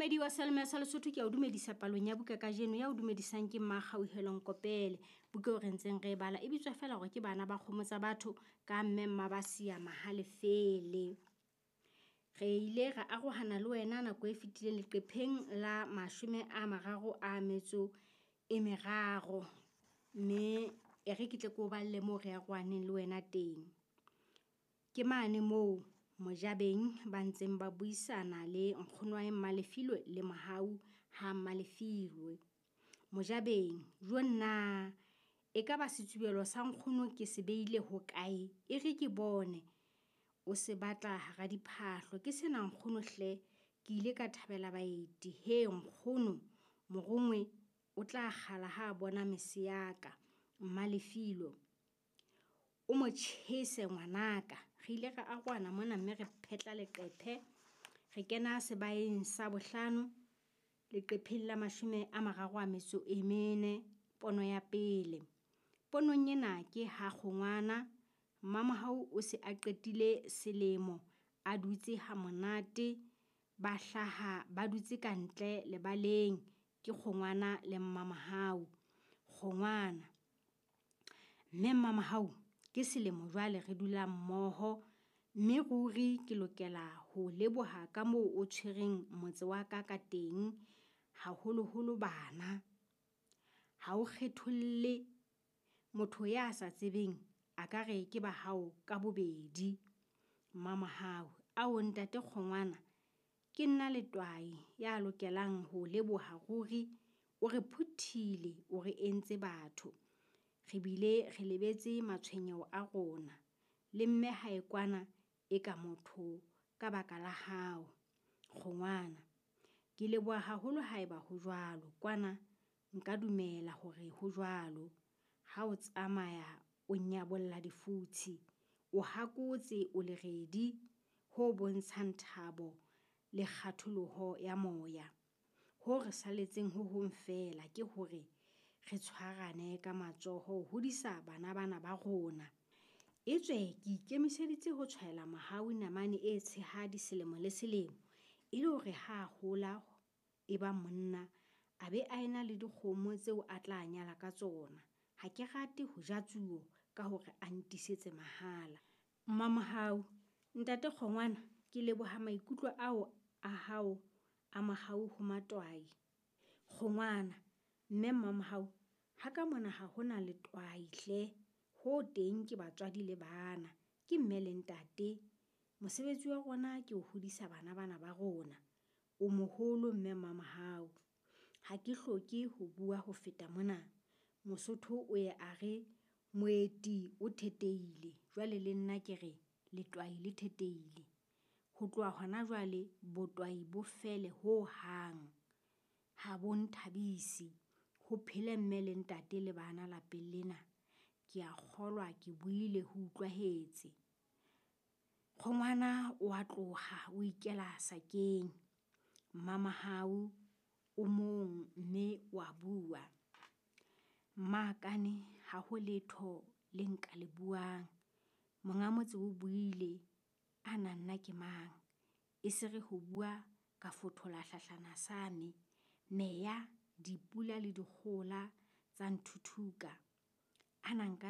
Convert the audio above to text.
Momamedi wa Selma sa Lesotho ke a o dumedisa palong ya buka kajeno ya o dumedisang ke Mmakgauhelo Nkopele. Buka eo re ntseng re e bala e bitswa feela hore ke Bana ba Kgomo tsa Batho ka Mme Mmabasia Mahalefele. Re ile ra arohana le wena nako e fetileng leqepheng la 33, mme e re ke tle ke o balle moo re arohaneng le wena teng. Ke mane moo Mojabeng ba ntseng ba buisana le nkgonwae Mmalefilwe le Mohau ha Mmalefilwe. Mojabeng, jo nna e ka ba setsubelo sa nkgono ke se beile hokae? E re ke bone. O se batla hara diphahlo. Ke sena nkgono hle, ke ile ka thabela baeti. He nkgono, morongwe o tla kgala ha a bona mese ya ka. Mmalefilwe, o mo tjhese ngwanaka. Re ile ra arohana mona mme re phetla leqephe. Re kena sebaeng sa bohlano, leqepheng la 34, pono ya pele. Ponong ena ke ha kgongwana, Mmamohau o se a qetile selemo a dutse ha monate, ba hlaha ba dutse kantle lebaleng ke kgongwana le Mmamohau. Kgongwana, mme Mmamohau ke selemo jwale re dula mmoho, mme ruri ke lokela ho leboha ka moo o tshwereng motse wa ka ka teng, haholoholo bana. Ha o kgetholle motho ya sa tsebeng a ka re ke ba hao ka bobedi. Mmamohau, ao ntate Kgongwana, ke nna letwae ya lokelang ho leboha ruri, o re phuthile, o re entse batho. Re bile re lebetse matshwenyeho a rona. Le mme hae kwana e ka motho ka baka la hao. Kgongwana, ke leboha haholo haeba ho jwalo. Kwana nka dumela hore ho jwalo. Ha o tsamaya o nyabolla difutshi, o hakotse o leredi ho bontshang thabo le kgatholoho ya moya. Ho re saletseng ho hong feela ke hore re tshwarane ka matsoho ho hodisa bana bana ba rona. Etswe ke ikemiseditse ho tshwaela Mohau namane e tshehadi selemo le selemo, e le hore ha a hola e ba monna, a be a ena le dikgomo tseo a tla nyala ka tsona. Ha ke rate ho ja tsuo ka hore a ntisetse mahala. Mmamohau, ntate Kgongwana, ke leboha maikutlo ao a hao a mohau ho matwae. Kgongwana, mme Mmamohau, ha ka mona ha hona letwae hle, ho teng ke batswadi le bana, ke mme le ntate. Mosebetsi wa rona ke ho hodisa bana bana ba rona. O moholo mme Mmamohau. Ha ke hloke ho bua ho feta mona. Mosotho o ye a re moeti o thetehile, jwale le nna ke re letwae le thetehile. Ho tloha hona jwale botwae bo fele ho hang. Ha bo nthabise. Ho phele mme le ntate le bana lapeng lena. Ke a kgolwa ke buile ho utlwahetse. Kgongwana o a tloha o ikela sakeng. Mmamohau o mong mme wa bua. Mmakane ha ho letho le nka le buang. Monga motse o buile, ana nna ke mang? E se re ho bua ka fothola hlahlana sa me. Meya, dipula le dikgohola tsa nthuthuka. Ana nka